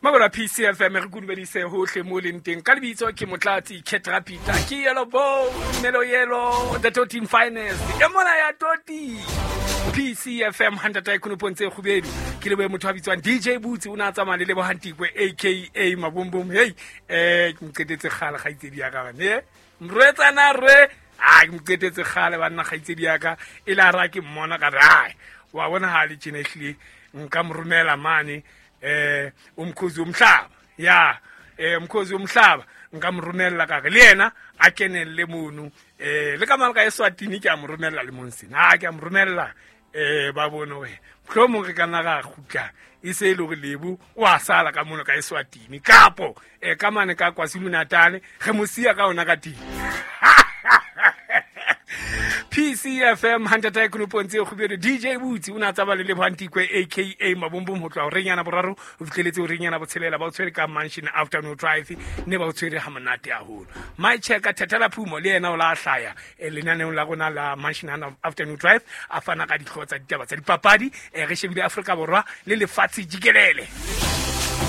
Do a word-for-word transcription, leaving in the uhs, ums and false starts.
Mabala P C F M re kudumedise hohle mo leng teng. Ka lebitso ke Motlatsi Ketrapita, ke Yellow Bone, Melo Yellow, the Totin Finest. E mona ya Toti. P C F M hantata e konopong tse kgubedu. Ke lebohe motho a bitswang D J Boots, o ne a tsamaya le Lebohang Tikwe A K A Mabombom. Hey, eh, ke mo qetetse kgale kgaitsedi ya ka bane. Eh, mrwetsana re, ah, ke mo qetetse kgale banna kgaitsedi ya ka. E le ha ra ke mmona ka re, ai, wa bona ha le tjena ehlile nka mo romela mane, eh, umkhozi womhlaba. Ya, eh, umkhozi womhlaba nka mo romella ka re le yena a kenelle mono. Eh, le ka malaka Eswatini ke a mo romella le Monsina. Ha ke a mo romella, eh, ba bone hore mohlomong re ka nna ra kgutla e se e le hore Lebo o a sala ka mono ka Eswatini, kapo, eh, ka mane ka KwaZulu-Natal re mo siya ka ona ka teng. P C F M hantata e konopong tse kgubedu. D J Boots o ne a tsamaya le Lebohang Tikwe A K A Mabombom ho tloha horeng yana boraro ho fihleletse horeng yana botshelela. Ba o tshwere ka Mansion Afternoon Drive, ne ba o tshwere ha monate haholo. My Checker Thethela Phumo le yena o la hlaya, eh, lenaneong la rona la Mansion Afternoon Drive, a fana ka dihlooho tsa ditaba tsa dipapadi. Eh, re shebile Afrika Borwa le lefatshe jikelele.